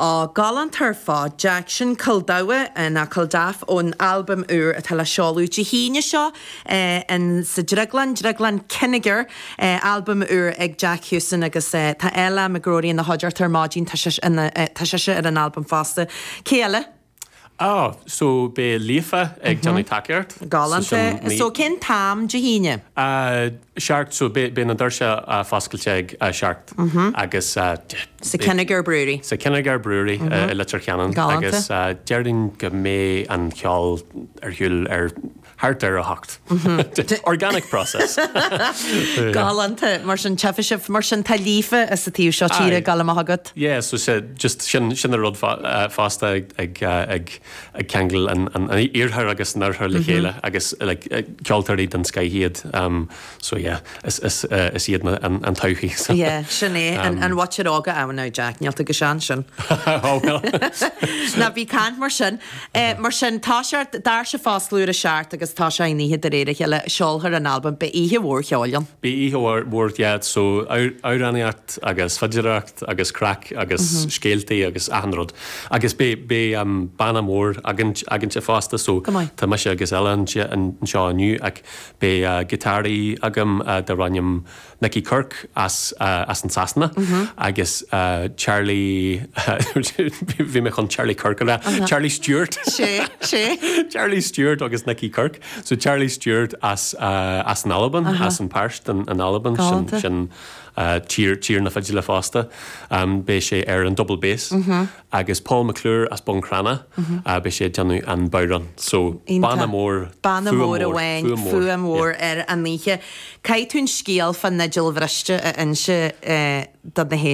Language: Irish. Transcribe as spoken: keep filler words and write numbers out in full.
Á galánta ar fad Jack sin Culdawe ná Culdaff ón albam úr atá le seoladh Dé hAoine seo in sa Drioglann, Drioglann Kinnegar, albam úr ag Jack Hewson agus tá Ella McGrory ina chuideachta ar maidin tá sise ar an albam fosta. Cé eile? Ah, so beidh Líofa ag déanamh tacaíocht. Galánta. So cén t-am Dé hAoine? Seacht so beidh na doirse foscailte ag a seacht agus Sa Kinnegar Brewery. Sa Kinnegar Brewery i Leitir Ceanainn agus déarfainn go mbeidh an ceol ar siúl ar thart ar a hocht. Organic process. Galánta mar sin tefa sibh mar sin tá Líofa as an taobh seo tíre ag dul amach agat. Yeah, so se just sin sin an rud fosta ag ag ag ceangal an an iarthar agus an oirthear le chéile agus like ceoltóirí den scoth iad um, so yeah is is is iad an an todhchaí. So. Yeah, sin é an an mhuintir óga ann now Jack, níl tú go sean sin. Oh well. Ná bí caint mar sin. Eh, mar sin tá sé doirse ag foscladh ar a seacht agus tá sé in oíche de réir a chéile seolfar an albam beidh oíche mhór cheoil ann. Beidh oíche mhór yeah, so amhránaíocht agus fidireacht agus craic agus scéaltaí agus achan rud. Agus beidh beidh um, banna mór againn againn fosta so tá mise agus Ella anseo inniu ach beidh uh, giotáraí agam uh, darb ainm Nicky Kirk as uh, as an Sasana mm -hmm. agus uh, Charlie bhí mé chun Charlie Kirk uh -huh. Charlie Stewart sé sé Charlie Stewart agus Nicky Kirk so Charlie Stewart as uh, as an Albain uh -huh. as an Peairt an, an Albain sin, sin uh, tír tír na fidile fosta um, beidh sé ar an double bass mm -hmm. agus Paul McClure as Bun Cranncha mm -hmm. uh, beidh sé déanamh an bodhrán so banna mór Banna mór amháin fuaim mhór ar an oíche. Caithfidh tú an scéal fan fhidil bhriste a inse do na